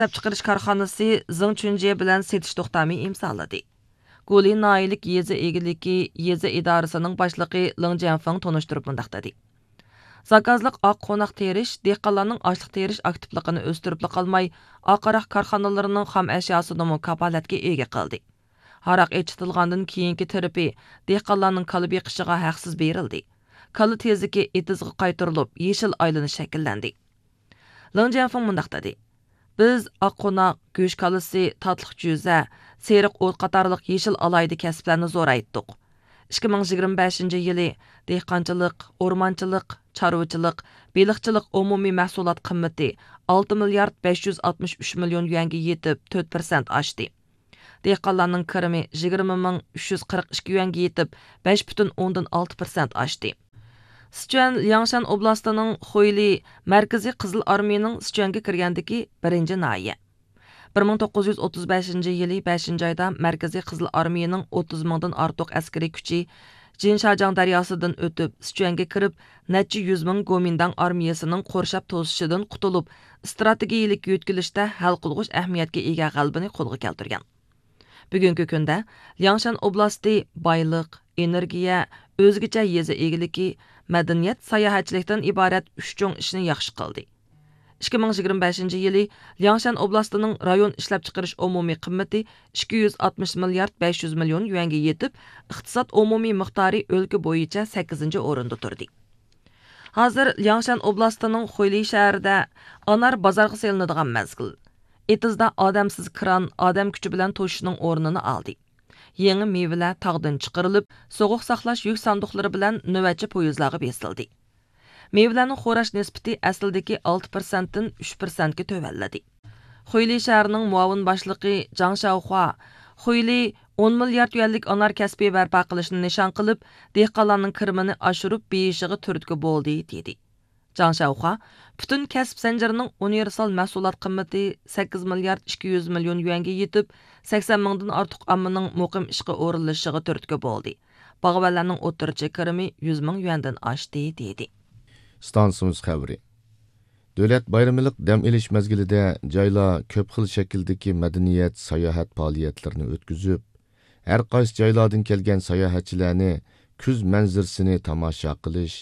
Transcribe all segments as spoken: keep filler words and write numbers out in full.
ئىشلەپچىقىرىش كارخانىسى زېڭ چۈنجيې بىلەن سېتىش توختامى ئىمزالىدى. گۇلى ناھىيەلىك يېزا ئىگىلىكى يېزا ئىدارىسىنىڭ باشلىقى لېڭ جيەنفېڭ تونۇشتۇرۇپ مۇنداق دېدى: زاكازلىق ئاق قوناق تېرىش دېھقانلارنىڭ ئاشلىق تېرىش ئاكتىپلىقىنى ئۆستۈرۈپلا قالماي، ئاق ھاراق كارخانىلىرىنىڭ خام ئەشياسىنىمۇ كاپالەتكە ئىگە قىلدى. ھاراق ئېچىتىلغاندىن كېيىنكى تىرىپى دېھقانلارنىڭ كالا بېقىشىغا ھەقسىز بېرىلدى. كالا تېزىكى ئېتىزغا قايتۇرۇلۇپ، يېشىل ئايلىنىش شەكىللەندى. لېڭ جيەنفېڭ مۇنداق دېدى: بىز ئاق قوناق، گۆش كالىسى، تاتلىق جۈزە، سېرىق ئوت قاتارلىق يېشىل ئالاھىدە كەسىپلەرنى زورايتتۇق. ئىككى مىڭ يىگىرمە بەشىنچى يىلى دېھقانچىلىق، ئورمانچىلىق، چارۋىچىلىق، بېلىقچىلىق ئومۇمىي مەھسۇلات قىممىتى ئالتە مىليارد بەش يۈز ئاتمىش ئۈچ مىليون يۈەنگە يېتىپ، تۆت پىرسەنت ئاشتى. دېھقانلارنىڭ كىرىمى يىگىرمە مىڭ ئۈچ يۈز قىرىق ئىككى يۈەنگە يېتىپ، بەش پۈتۈن ئوندىن ئالتە پىرسەنت ئاشتى. سىچۈەن لياڭشان ئوبلاستىنىڭ خۇيلى مەركىزىي قىزىل ئارمىيىنىڭ سىچۈەنگە كىرگەندىكى بىرىنچى ناھىيە. بىر مىڭ توققۇز يۈز ئوتتۇز بەشىنچى يىلى بەشىنچى ئايدا مەركىزىي قىزىل ئارمىيىنىڭ ئوتتۇز مىڭدىن ئارتۇق ئەسكىرىي كۈچى جىنشاجياڭ دەرياسىدىن ئۆتۈپ، سىچۈەنگە كىرىپ، نەچچە يۈز مىڭ گومىنداڭ ئارمىيەسىنىڭ قورشاپ توسۇشىدىن قۇتۇلۇپ، ئىستراتېگىيىلىك يۆتكىلىشتە ھەل قىلغۇچ ئەھمىيەتكە ئىگە غەلىبىنى قولغا كەلتۈرگەن. بۈگۈنكى كۈندە لياڭشان ئوبلاستى بايلىق، ئېنېرگىيە، ئۆزگىچە يېزا ئىگىلىكى، مەدەنىيەت، ساياھەتچىلىكتىن ئىبارەت ئۈچ چوڭ ئىشنى ياخشى قىلدى. ئىككى مىڭ يىگىرمە بەشىنچى يىلى لياڭشان ئوبلاستىنىڭ رايون ئىشلەپچىقىرىش ئومۇمىي قىممىتى ئىككى يۈز ئاتمىش مىليارد بەش يۈز مىليون يۈەنگە يېتىپ، ئىقتىساد ئومۇمىي مىقدارى ئۆلكە بويىچە سەككىزىنچى ئورۇندا تۇردى. ھازىر لياڭشان ئوبلاستىنىڭ خۇيلى شەھىرىدە ئانار بازارغا سېلىنىدىغان مەزگىل. ئېتىزدا ئادەمسىز كران ئادەم كۈچى بىلەن توشۇشنىڭ ئورنىنى ئالدى. يېڭى مېۋىلەر تاغدىن چىقىرىلىپ، سوغۇق ساقلاش يۈك ساندۇقلىرى بىلەن نۆۋەتچى پويىزلارغا بېسىلدى. مېۋىلەرنىڭ خوراش نىسبىتى ئەسلىدىكى ئالتە پىرسەنتتىن ئۈچ پىرسەنتكە تۆۋەنلىدى. خۇيلى شەھىرىنىڭ مۇئاۋىن باشلىقى جاڭ شياۋخۇا خۇيلى ئون مىليارد يۈەنلىك ئانار كەسپى بەرپا قىلىشنى نىشان قىلىپ، دېھقانلارنىڭ كىرىمىنى ئاشۇرۇپ بېيىشىغا تۈرتكە بولدى، دېدى. جاڭ شياۋخۇا پۈتۈن كەسىپ زەنجىرىنىڭ ئۇنىۋېرسال مەھسۇلات قىممىتى سەككىز مىليارد ئىككى يۈز مىليون يۈەنگە يېتىپ، سەكسەن مىڭدىن ئارتۇق ئاممىنىڭ مۇقىم ئىشقا ئورۇنلىشىشىغا تۈرتكە بولدى. باغۋەنلەرنىڭ ئوتتۇرىچە كىرىمى يۈز مىڭ يۈەندىن ئاشتى، دېدى. ئىستانسىمىز خەۋىرى. دۆلەت بايرىمىلىق دەم ئېلىش مەزگىلىدە جايلار كۆپ خىل شەكىلدىكى مەدەنىيەت، ساياھەت پائالىيەتلىرىنى ئۆتكۈزۈپ، ھەر قايسى جايلاردىن كەلگەن ساياھەتچىلەرنى كۈز مەنزىرىسىنى تاماشا قىلىش،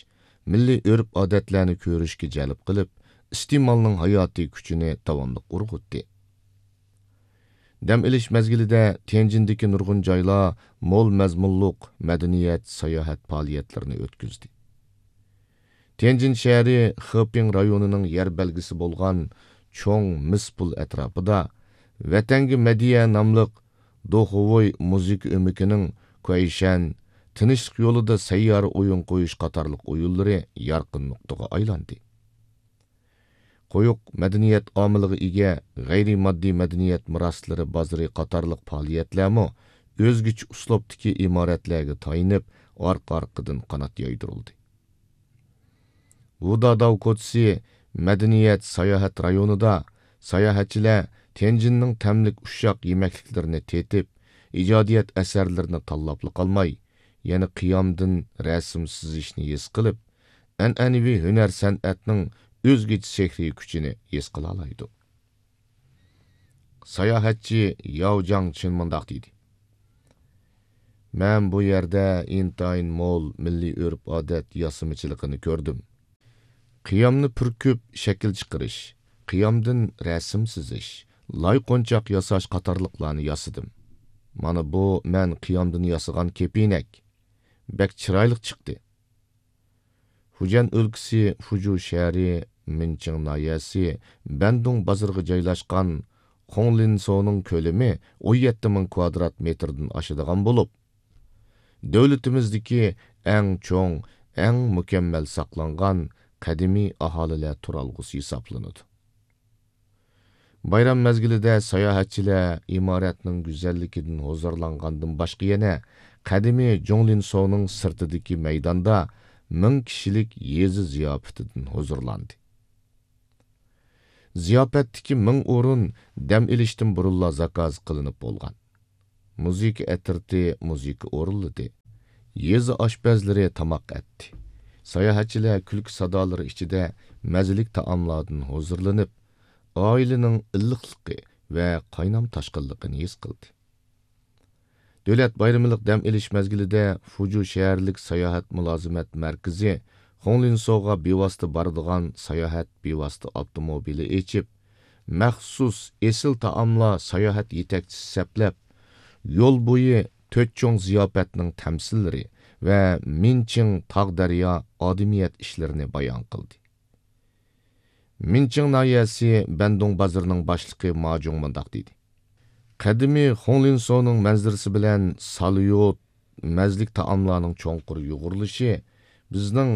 مىللىي ئۆرپ-ئادەتلەرنى كۆرۈشكە جەلپ قىلىپ، ئىستېمالنىڭ ھاياتىي كۈچىنى داۋاملىق ئۇرغۇتتى. دەم ئېلىش مەزگىلىدە تيەنجىندىكى نۇرغۇن جايلار مول مەزمۇنلۇق مەدەنىيەت، ساياھەت پائالىيەتلىرىنى ئۆتكۈزدى. تيەنجىن شەھىرى خېپىڭ رايونىنىڭ يەر بەلگىسى بولغان چوڭ مىس پۇل ئەتراپىدا ۋەتەنگە مەدھىيە ناملىق دوخۇۋوي مۇزىكا ئۆمىكىنىڭ كۇەيشەن، تىنچلىق يولىدا سەييارە ئويۇن قويۇش قاتارلىق ئويۇنلىرى يارقىن نۇقتىغا ئايلاندى. قويۇق مەدەنىيەت ئامىلىغا ئىگە غەيرىي ماددىي مەدەنىيەت مىراسلىرى بازىرى قاتارلىق پائالىيەتلەرمۇ ئۆزگىچە ئۇسلۇبتىكى ئىمارەتلەرگە تايىنىپ، ئارقا-ئارقىدىن قانات يايدۇرۇلدى. ۋۇداداۋ كوچىسى مەدەنىيەت ساياھەت رايونىدا ساياھەتچىلەر تيەنجىننىڭ تەملىك ئۇششاق يېمەكلىكلىرىنى تېتىپ، ئىجادىيەت ئەسەرلىرىنى تاللاپلا قالماي، يەنە قىيامدىن رەسىم سىزىشنى ھېس قىلىپ، ئەنئەنىۋى ھۈنەر-سەنئەتنىڭ ئۆزگىچە سېھرىي كۈچىنى ھېس قىلالايدۇ. ساياھەتچى ياۋ جاڭچىن مۇنداق دېدى: مەن بۇ يەردە ئىنتايىن مول مىللىي ئۆرپ-ئادەت ياسىمىچىلىقىنى كۆردۈم. قىيامنى پۈركۈپ شەكىل چىقىرىش، قىيامدىن رەسىم سىزىش، لاي قونچاق ياساش قاتارلىقلارنى ياسىدىم. مانا بۇ مەن قىيامدىن ياسىغان كېپىنەك. بەك چىرايلىق چىقتى. فۇجيەن ئۆلكىسى فۇجۇ شەھىرى مىنچىڭ ناھىيەسى بەندۇڭ بازىرىغا جايلاشقان خۇڭلىنسونىڭ كۆلىمى ئون يەتتە مىڭ كۋادرات مېتىردىن ئاشىدىغان بولۇپ، دۆلىتىمىزدىكى ئەڭ چوڭ، ئەڭ مۇكەممەل ساقلانغان قەدىمىي ئاھالىلەر تۇرالغۇسى ھېسابلىنىدۇ. بايرام مەزگىلىدە ساياھەتچىلەر ئىمارەتنىڭ گۈزەللىكىدىن ھۇزۇرلانغاندىن باشقا، يەنە قەدىمىي جۇڭلىنسونىڭ سىرتىدىكى مەيداندا مىڭ كىشىلىك يېزا زىياپىتىدىن ھۇزۇرلاندى. زىياپەتتىكى مىڭ ئورۇن دەم ئېلىشتىن بۇرۇنلا زاكاز قىلىنىپ بولغان. مۇزىكا ئەترىتى مۇزىكا ئورۇنلىدى. يېزا ئاشپەزلىرى تاماق ئەتتى. ساياھەتچىلەر كۈلكە سادالىرى ئىچىدە مەززىلىك تائاملاردىن ھۇزۇرلىنىپ، ئائىلىنىڭ ئىللىقلىقى ۋە قاينام تاشقىنلىقىنى ھېس قىلدى. دۆلەت بايرىملىق دەم ئېلىش مەزگىلىدە فۇجۇ شەھەرلىك ساياھەت مۇلازىمەت مەركىزى خۇڭلىنسوغا بىۋاسىتە بارىدىغان ساياھەت بىۋاسىتە ئاپتوموبىلى ئېچىپ، مەخسۇس ئېسىل تائاملار ساياھەت يېتەكچىسى سەپلەپ، يول بويى تۆت چوڭ زىياپەتنىڭ تەمسىللىرى ۋە مىنچىڭ تاغ دەريا ئادىمىيەت ئىشلىرىنى بايان قىلدى. مىنچىڭ ناھىيەسى بەندۇڭ بازىرىنىڭ باشلىقى ما جۇڭ مۇنداق دېدى: قەدىمىي خۇڭلىنسونىڭ مەنزىرىسى بىلەن ساليۇت، مەززىلىك تائاملارنىڭ چوڭقۇر يۇغۇرۇلۇشى بىزنىڭ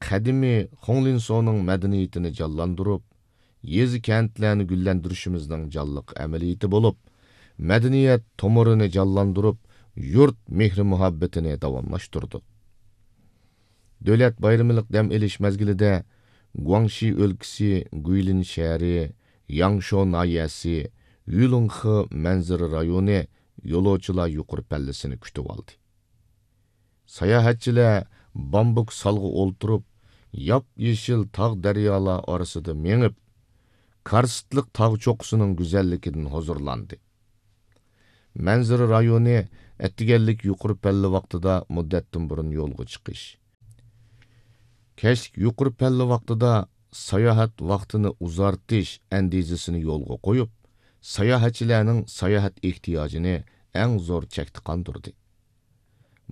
قەدىمىي خۇڭلىنسونىڭ مەدەنىيىتىنى جانلاندۇرۇپ، يېزا-كەنتلەرنى گۈللەندۈرۈشىمىزنىڭ جانلىق ئەمەلىيىتى بولۇپ، مەدەنىيەت تومۇرىنى جانلاندۇرۇپ، يۇرت مېھرى-مۇھەببىتىنى داۋاملاشتۇردۇق. دۆلەت بايرىملىق دەم ئېلىش مەزگىلىدە گۇاڭشى ئۆلكىسى گۇيلىن شەھىرى، ياڭشو ناھىيەسى، يۈلۇڭخې مەنزىرە رايونى يولۇچىلار يۇقىرى پەللىسىنى كۈتۈۋالدى. ساياھەتچىلەر بامبۇك سالغا ئولتۇرۇپ، ياپيېشىل تاغ دەريالار ئارىسىدا مېڭىپ، كارستلىق تاغ چوققىسىنىڭ گۈزەللىكىدىن ھۇزۇرلاندى. مەنزىرە رايونى ئەتىگەنلىك يۇقىرى پەللە ۋاقتىدا مۇددەتتىن بۇرۇن يولغا چىقىش، كەچلىك يۇقىرى پەللە ۋاقتىدا ساياھەت ۋاقتىنى ئۇزارتىش ئەندىزىسىنى يولغا قويۇپ، ساياھەتچىلەرنىڭ ساياھەت ئېھتىياجىنى ئەڭ زور چەكتە قاندۇردى.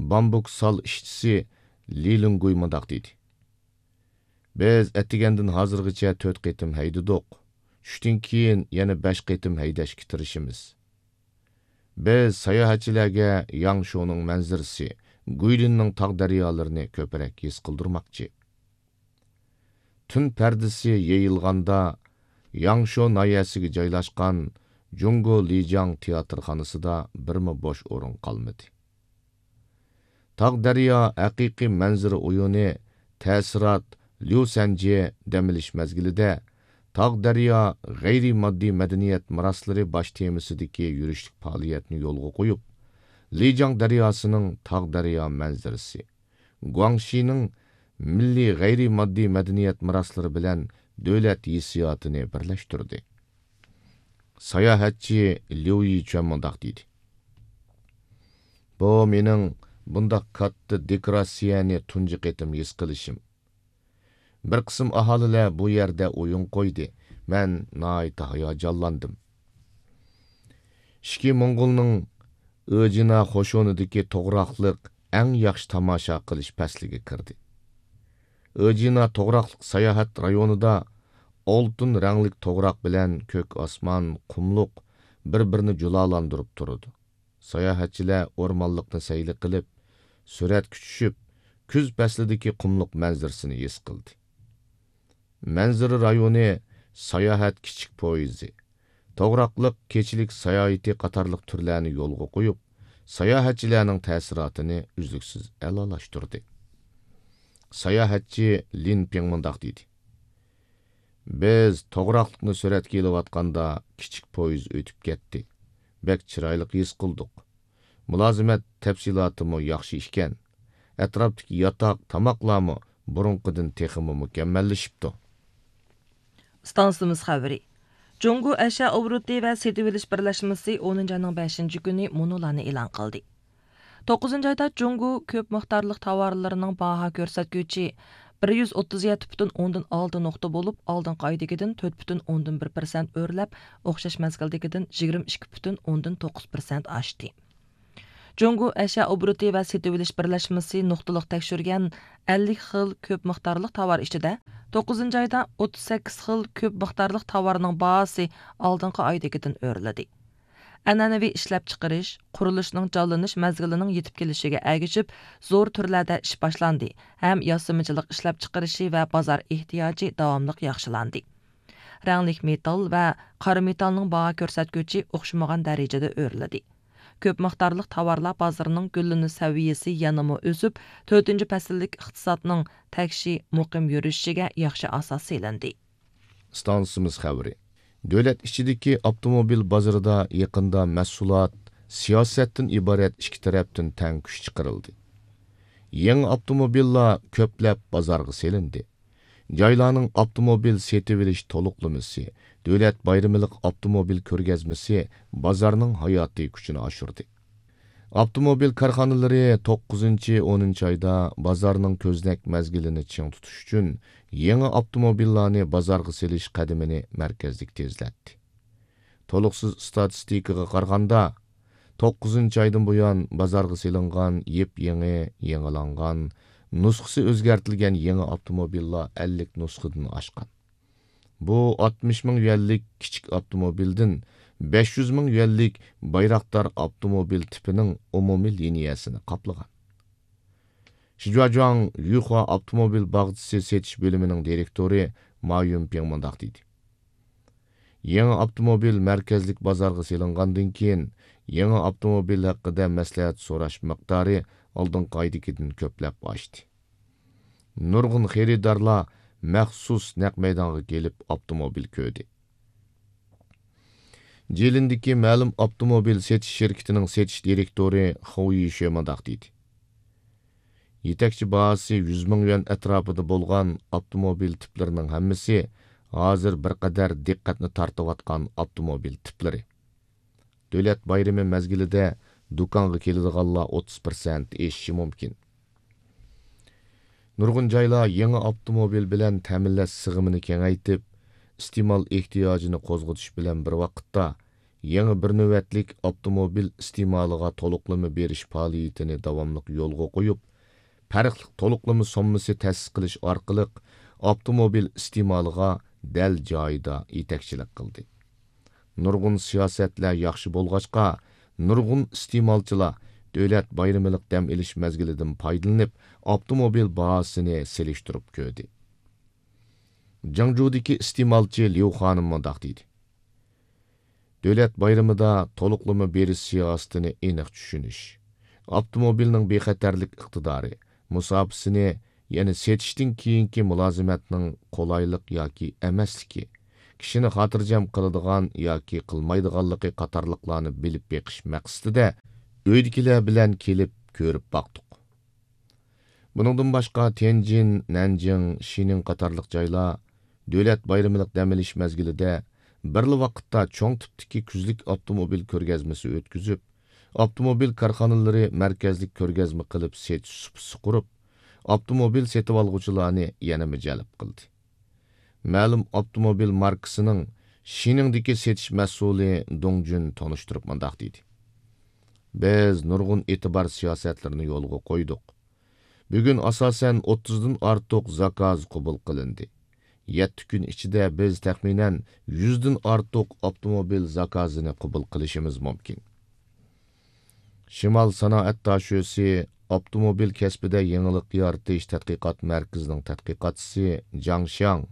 بامبۇك سال ئىشچىسى لى لىڭگۇي مۇنداق دېدى: بىز ئەتىگەندىن ھازىرغىچە تۆت قېتىم ھەيدىدۇق. چۈشتىن كېيىن يەنە بەش قېتىم ھەيدەشكە تىرىشىمىز. بىز ساياھەتچىلەرگە ياڭشۇنىڭ مەنزىرىسى، گۇيلىننىڭ تاغ دەريالىرىنى كۆپرەك ھېس قىلدۇرماقچى. تۈن پەردىسى يېيىلغاندا، ياڭشۇ ناھىيەسىگە جايلاشقان جۇڭگو لىجياڭ تىياتىرخانىسىدا بىرمۇ بوش ئورۇن قالمىدى. تاغ دەريا ھەقىقىي مەنزىرە ئويۇنى، تەسىرات، ليۇسەنجې دەم ئېلىش مەزگىلىدە تاغ دەريا غەيرىي ماددىي مەدەنىيەت مىراسلىرى باش تېمىسىدىكى يۈرۈشلۈك پائالىيەتنى يولغا قويۇپ، لىجياڭ دەرياسىنىڭ تاغ دەريا مەنزىرىسى، گۇاڭشىنىڭ مىللىي غەيرىي ماددىي مەدەنىيەت مىراسلىرى بىلەن دۆلەت ھېسسىياتىنى بىرلەشتۈردى. ساياھەتچى ليۇ يىچۈەن مۇنداق دېدى: بۇ مېنىڭ بۇنداق كاتتا دېكوراتسىيەنى تۇنجى قېتىم ھېس قىلىشىم. بىر قىسىم ئاھالىلەر بۇ يەردە ئويۇن قويدى. مەن ناھايىتى ھاياجانلاندىم. ئىچكى موڭغۇلنىڭ ئۆجىنا قوشۇنىدىكى توغراقلىق ئەڭ ياخشى تاماشا قىلىش پەسلىگە كىردى. ئۆجىنا توغراقلىق ساياھەت رايونىدا ئالتۇن رەڭلىك توغراق بىلەن كۆك ئاسمان، قۇملۇق بىر-بىرىنى جۇلالاندۇرۇپ تۇرىدۇ. ساياھەتچىلەر ئورمانلىقنى سەيلە قىلىپ، سۈرەتكە چۈشۈپ، كۈز پەسلىدىكى قۇملۇق مەنزىرىسىنى ھېس قىلدى. مەنزىرە رايونى ساياھەت كىچىك پويىزى، توغراقلىق كېچىلىك ساياھىتى قاتارلىق تۈرلەرنى يولغا قويۇپ، ساياھەتچىلەرنىڭ تەسىراتىنى ئۈزلۈكسىز ئەلالاشتۇردى. ساياھەتچى لىن پىڭ مۇنداق دېدى: بىز توغراقلىقنى سۈرەتكە ئېلىۋاتقاندا، كىچىك پويىز ئۆتۈپ كەتتى. بەك چىرايلىق ھېس قىلدۇق. مۇلازىمەت تەپسىلاتىمۇ ياخشى ئىكەن. ئەتراپتىكى ياتاق، تاماقلارمۇ بۇرۇنقىدىن تېخىمۇ مۇكەممەللىشىپتۇ. ئىستانسىمىز خەۋىرى. جۇڭگو ئەشيا ئوبوروتى ۋە سېتىۋېلىش بىرلەشمىسى ئونىنچى ئاينىڭ بەشىنچى كۈنى مۇنۇلارنى ئېلان قىلدى. توققۇزىنچى ئايدا جۇڭگو كۆپ مىقدارلىق تاۋارلىرىنىڭ باھا كۆرسەتكۈچى بىر يۈز ئوتتۇز يەتتە پۈتۈن ئوندىن ئالتە نۇقتا بولۇپ، ئالدىنقى ئايدىكىدىن تۆت پۈتۈن ئوندىن بىر پىرسەنت ئۆرلەپ، ئوخشاش مەزگىلدىكىدىن يىگىرمە ئىككى پۈتۈن ئوندىن توققۇز پىرسەنت ئاشتى. جۇڭگو ئەشيا ئوبوروتى ۋە سېتىۋېلىش بىرلەشمىسى نۇقتىلىق تەكشۈرگەن ئەللىك خىل كۆپ مىقدارلىق تاۋار ئىچىدە، توققۇزىنچى ئايدا ئوتتۇز سەككىز خىل كۆپ مىقدارلىق تاۋارنىڭ باھاسى ئالدىنقى ئايدىكىدىن ئۆرلىدى. ئەنئەنىۋى ئىشلەپچىقىرىش، قۇرۇلۇشنىڭ جانلىنىش مەزگىلىنىڭ يېتىپ كېلىشىگە ئەگىشىپ، زور تۈرلەردە ئىش باشلاندى ھەم ياسىمىچىلىق ئىشلەپچىقىرىشى ۋە بازار ئېھتىياجى داۋاملىق ياخشىلاندى. رەڭلىك مېتال ۋە قارا مېتالنىڭ باھا كۆرسەتكۈچى ئوخشىمىغان دەرىجىدە ئۆرلىدى. كۆپ مىقدارلىق تاۋارلار بازىرىنىڭ گۈللىنىش سەۋىيەسى يەنىمۇ ئۆسۈپ، تۆتىنچى پەسىللىك ئىقتىسادنىڭ تەكشى، مۇقىم يۈرۈشۈشىگە ياخشى ئاساس سېلىندى. ئىستانسىمىز خەۋىرى. دۆلەت ئىچىدىكى ئاپتوموبىل بازىرىدا يېقىندا مەھسۇلات، سىياسەتتىن ئىبارەت ئىككى تەرەپتىن تەڭ كۈچ چىقىرىلدى. يېڭى ئاپتوموبىللار كۆپلەپ بازارغا سېلىندى. جايلارنىڭ ئاپتوموبىل سېتىۋېلىش تولۇقلىمىسى، دۆلەت بايرىملىق ئاپتوموبىل كۆرگەزمىسى بازارنىڭ ھاياتىي كۈچىنى ئاشۇردى. ئاپتوموبىل كارخانىلىرى توققۇزىنچى، ئونىنچى ئايدا بازارنىڭ كۆزنەك مەزگىلىنى چىڭ تۇتۇش ئۈچۈن، يېڭى ئاپتوموبىللارنى بازارغا سېلىش قەدىمىنى مەركەزلىك تېزلەتتى. تولۇقسىز ئىستاتىستىكىغا قارىغاندا، توققۇزىنچى ئايدىن بۇيان بازارغا سېلىنغان يېپيېڭى، يېڭىلانغان، نۇسخىسى ئۆزگەرتىلگەن يېڭى ئاپتوموبىللار ئەللىك نۇسخىدىن ئاشقان. بۇ ئاتمىش مىڭ يۈەنلىك كىچىك ئاپتوموبىلدىن بەش يۈز مىڭ يۈەنلىك بايراقدار ئاپتوموبىل تىپىنىڭ ئومۇمىي لىنىيەسىنى قاپلىغان. شىجۇاجۇاڭ يۈخۇا ئاپتوموبىل باغچىسى سېتىش بۆلۈمىنىڭ دىرېكتورى ما يۈنپىڭ مۇنداق دېدى: يېڭى ئاپتوموبىل مەركەزلىك بازارغا سېلىنغاندىن كېيىن، يېڭى ئاپتوموبىل ھەققىدە مەسلىھەت سوراش مىقدارى ئالدىنقى ئايدىكىدىن كۆپلەپ ئاشتى. نۇرغۇن خېرىدارلار مەخسۇس نەق مەيدانغا كېلىپ ئاپتوموبىل كۆردى. جىلىندىكى مەلۇم ئاپتوموبىل سېتىش شىركىتىنىڭ سېتىش دىرېكتورى خۇ يىشې مۇنداق دېدى: يېتەكچى باھاسى يۈز مىڭ يۈەن ئەتراپىدا بولغان ئاپتوموبىل تىپلىرىنىڭ ھەممىسى ھازىر بىر قەدەر دىققەتنى تارتىۋاتقان ئاپتوموبىل تىپلىرى. دۆلەت بايرىمى مەزگىلىدە دۇكانغا كېلىدىغانلار ئوتتۇز پىرسەنت ئېشىشى مۇمكىن. نۇرغۇن جايلار يېڭى ئاپتوموبىل بىلەن تەمىنلەش سىغىمىنى كېڭەيتىپ، ئىستېمال ئېھتىياجىنى قوزغىتىش بىلەن بىر ۋاقىتتا، يېڭى بىر نۆۋەتلىك ئاپتوموبىل ئىستېمالىغا تولۇقلىما بېرىش پائالىيىتىنى داۋاملىق يولغا قويۇپ، پەرقلىق تولۇقلىما سوممىسى تەسىس قىلىش ئارقىلىق ئاپتوموبىل ئىستېمالىغا دەل جايىدا يېتەكچىلىك قىلدى. نۇرغۇن سىياسەتلەر ياخشى بولغاچقا، نۇرغۇن ئىستېمالچىلار دۆلەت بايرىملىق دەم ئېلىش مەزگىلىدىن پايدىلىنىپ، ئاپتوموبىل باھاسىنى سېلىشتۇرۇپ كۆردى. جياڭجۇدىكى ئىستېمالچى ليۇ خانىم مۇنداق دېدى: دۆلەت بايرىمىدا تولۇقلىما بېرىش سىياسىتىنى ئېنىق چۈشىنىش، ئاپتوموبىلنىڭ بىخەتەرلىك ئىقتىدارى، مۇساپىسىنى، يەنى سېتىشتىن كېيىنكى مۇلازىمەتنىڭ قولايلىق ياكى ئەمەسلىكى، كىشىنى خاتىرجەم قىلىدىغان ياكى قىلمايدىغانلىقى قاتارلىقلارنى بىلىپ بېقىش مەقسىتىدە ئۆيدىكىلەر بىلەن كېلىپ كۆرۈپ باقتۇق. بۇنىڭدىن باشقا، تيەنجىن، نەنجىڭ، شىنىڭ قاتارلىق جايلار دۆلەت بايرىملىق دەم ئېلىش مەزگىلىدە بىرلا ۋاقىتتا چوڭ تىپتىكى كۈزلۈك ئاپتوموبىل كۆرگەزمىسى ئۆتكۈزۈپ، ئاپتوموبىل كارخانىلىرى مەركەزلىك كۆرگەزمە قىلىپ سېتىش سۇپىسى قۇرۇپ، ئاپتوموبىل سېتىۋالغۇچىلارنى يەنىمۇ جەلپ قىلدى. مەلۇم ئاپتوموبىل ماركىسىنىڭ شىنىڭدىكى سېتىش مەسئۇلى دۇڭ جۈن تونۇشتۇرۇپ مۇنداق دېدى: بىز نۇرغۇن ئېتىبار سىياسەتلىرىنى يولغا قويدۇق. بۈگۈن ئاساسەن ئوتتۇزدىن ئارتۇق زاكاز قوبۇل قىلىندى. يەتتە كۈن ئىچىدە بىز تەخمىنەن يۈزدىن ئارتۇق ئاپتوموبىل زاكازىنى قوبۇل قىلىشىمىز مۇمكىن. شىمال سانائەت داشۆسى ئاپتوموبىل كەسپىدە يېڭىلىق يارىتىش تەتقىقات مەركىزىنىڭ تەتقىقاتچىسى جاڭ شياڭ،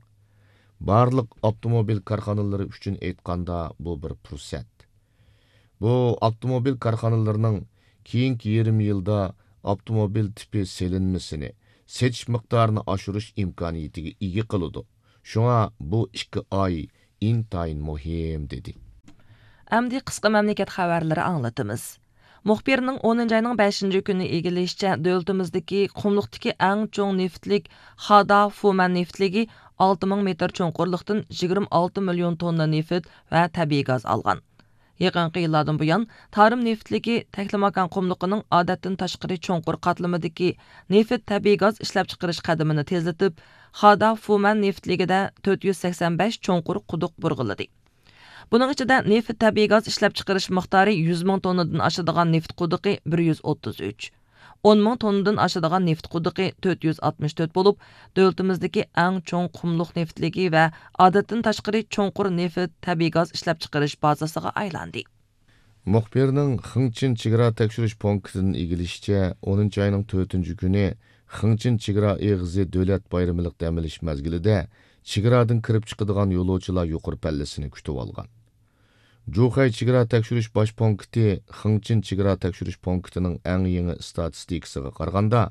بارلىق ئاپتوموبىل كارخانىلىرى ئۈچۈن ئېيتقاندا، بۇ بىر پۇرسەت. بۇ ئاپتوموبىل كارخانىلىرىنىڭ كېيىنكى يېرىم يىلدا ئاپتوموبىل تىپى سېلىنمىسىنى، سېتىش مىقدارىنى ئاشۇرۇش ئىمكانىيىتىگە ئىگە قىلىدۇ. شۇڭا بۇ ئىككى ئاي ئىنتايىن مۇھىم، دېدى. ئەمدى قىسقا مەملىكەت خەۋەرلىرى ئاڭلىتىمىز. مۇخبىرنىڭ ئونىنچى ئاينىڭ بەشىنچى كۈنى ئىگىلىشىچە، دۆلىتىمىزدىكى قۇملۇقتىكى ئەڭ چوڭ نېفىتلىك خادا فۇمەن نېفىتلىكى ئالتە مىڭ مېتىر چوڭقۇرلۇقتىن يىگىرمە ئالتە مىليون توننا نېفىت ۋە تەبىئىي گاز ئالغان. يېقىنقى يىللاردىن بۇيان، تارىم نېفىتلىكى تەكلىماكان قۇملۇقىنىڭ ئادەتتىن تاشقىرى چوڭقۇر قاتلىمىدىكى نېفىت تەبىئىي گاز ئىشلەپچىقىرىش قەدىمىنى تېزلىتىپ، خادا فۇمەن نېفىتلىكىدە تۆت يۈز سەكسەن بەش چوڭقۇر قۇدۇق بۇرغىلىدى. بۇنىڭ ئىچىدە نېفىت تەبىئىي گاز ئىشلەپچىقىرىش مىقدارى يۈز مىڭ توننىدىن ئاشىدىغان نېفىت قۇدۇقى بىر يۈز ئوتتۇز ئۈچ، ئون مىڭ توننىدىن ئاشىدىغان نېفىت قۇدۇقى تۆت يۈز ئاتمىش تۆت بولۇپ، دۆلىتىمىزدىكى ئەڭ چوڭ قۇملۇق نېفىتلىكى ۋە ئادەتتىن تاشقىرى چوڭقۇر نېفىت تەبىئىي گاز ئىشلەپچىقىرىش بازىسىغا ئايلاندى. مۇخبىرنىڭ خېڭچىن چېگرا تەكشۈرۈش پونكىتىدىن ئىگىلىشىچە، ئونىنچى ئاينىڭ تۆتىنچى كۈنى خېڭچىن چېگرا ئېغىزى دۆلەت بايرىملىق دەم ئېلىش مەزگىلىدە چېگرادىن كىرىپ چىقىدىغان يولۇچىلار يۇقىرى پەللىسىنى كۈتۈۋالغان. جۇخەي چېگرا تەكشۈرۈش باش پونكىتى خېڭچىن چېگرا تەكشۈرۈش پونكىتىنىڭ ئەڭ يېڭى ئىستاتىستىكىسىغا قارىغاندا،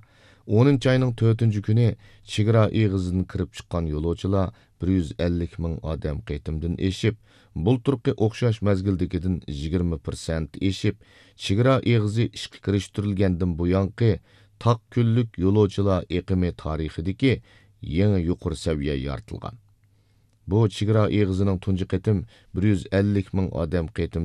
ئونىنچى ئاينىڭ تۆتىنچى كۈنى چېگرا ئېغىزىدىن كىرىپ چىققان يولۇچىلار بىر يۈز ئەللىك مىڭ ئادەم قېتىمدىن ئېشىپ، بۇلتۇرقى ئوخشاش مەزگىلدىكىدىن يىگىرمە پىرسەنت ئېشىپ، چېگرا ئېغىزى ئىشقا كىرىشتۈرۈلگەندىن بۇيانقى تاق كۈنلۈك يولۇچىلار ئېقىمى تارىخىدىكى يېڭى يۇقىرى سەۋىيە يارىتىلغان. بۇ چېگرا ئېغىزىنىڭ تۇنجى قېتىم بىر يۈز ئەللىك مىڭ ئادەم قېتىم